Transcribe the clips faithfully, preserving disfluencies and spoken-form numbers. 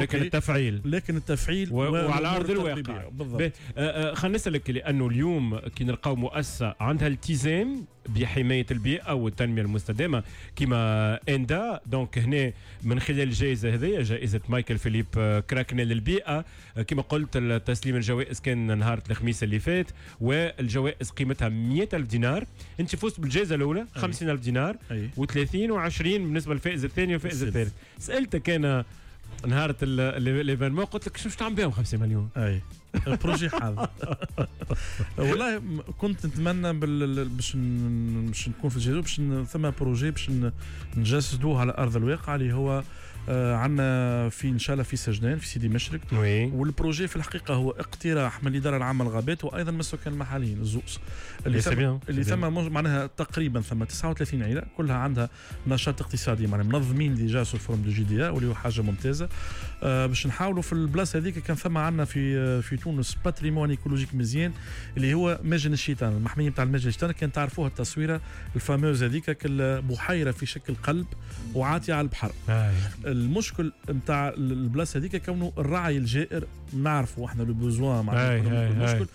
لكن التفعيل، لكن التفعيل و... وعلى ارض الواقع. بالضبط. آه، آه، خلينا نسالك، لانه اليوم كي نلقاو مؤسسة عندها التزام بحمايه البيئة والتنمية المستدامة كما اندا، donc هنا من خلال الجائزة هذه، جائزة مايكل فيليب آه، كراكنيل للبيئه، كما قلت تسليم الجوائز كان نهار الخميس اللي فات، والجوائز قيمتها مية ألف دينار. انت فزت بالجائزة الاولى خمسين ألف دينار وثلاثين وعشرين بالنسبة للفائز الثاني والفائز الثالث. سالتك انا نهار l'événement، قلت لك شو تعمل بهم خمسين مليون؟ اي، projet حاضر. والله كنت نتمنى باش باش نكون في الجزائر، باش ثم projet باش نجسدوه على ارض الواقع، اللي هو آه عندنا في ان شاء الله في سجنان، في سيدي مشرك. oui. وال projet في الحقيقة هو اقتراح من الادارة العامة للغابات وايضا من السكان المحليين الزوز، اللي ثم اللي ثم معناها تقريبا ثم تسعة وثلاثين عيله كلها عندها نشاط اقتصادي، معناها منظمين déjà sous forme de GDA، واللي هو حاجة ممتازه. آه باش نحاولوا في البلاصة هذيك، كان ثم عندنا في في تونس patrimoine écologique مزيان اللي هو ماجن الشيطان، المحميه نتاع الماجن الشيطان. كان تعرفوها التصويره ال fameuse هذيك، كل بحيرة في شكل قلب وعاطيه على البحر. آه. المشكل نتاع البلاصة هذيك كونه الرعي الجائر، نعرفوا احنا le besoin، معناها المشكل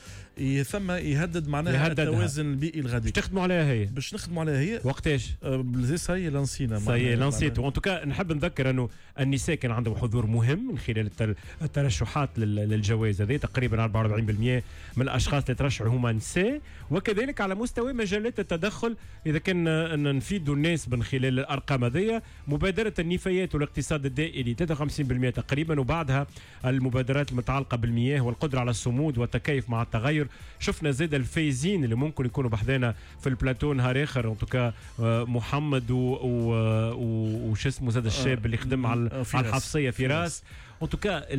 ثم يهدد معناها التوازن البيئي الغادي. باش تخدموا عليها هي؟ باش نخدموا عليها هي. وقتاش؟ ça y est لانسينا. ça y est لانسيتو. en tout cas نحب نذكر انه النساء كان عندهم حضور مهم من خلال الترشحات للجوائز هذه، تقريبا أربعة وأربعين بالمية من الاشخاص اللي ترشحوا هما نساء. وكذلك على مستوى مجالات التدخل، اذا كان نفيدوا الناس من خلال الارقام هذه، مبادرة النفايات والاقتصاد الدائري ثلاثة وخمسين بالمية تقريبا، وبعدها المبادرات المتعلقة بالمياه والقدرة على الصمود والتكيف مع التغير. شفنا زاد الفايزين اللي ممكن يكونوا بحذانا في البلاتو نهار اخر، en tout cas محمد وش اسمه زاد الشاب اللي خدم على الحفصيه، فراس. en tout cas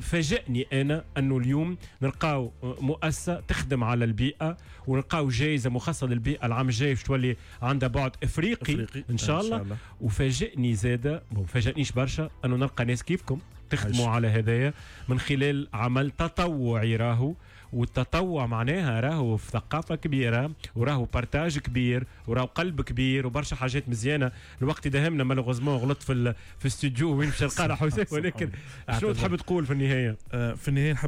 فاجأني انا انه اليوم نلقاو مؤسسة تخدم على البيئة ونلقاو جائزة مخصصة للبيئه، العام الجاي باش تولي عندها بعد افريقي، افريقي ان شاء الله. إن شاء الله. وفاجئني زاده، bon فاجأنيش برشا، انه نلقى ناس كيفكم تخدموا على هدايا من خلال عمل تطوعي. راهو والتطوع معناها راهو في ثقافة كبيرة وراهو partage كبير وراهو قلب كبير وبرشا حاجات مزيانه. الوقت داهمنا malheureusement، غلطت في في الاستوديو وين باش نلقى حسين، ولكن شنو تحب تقول في النهاية؟ آه، في النهاية نحب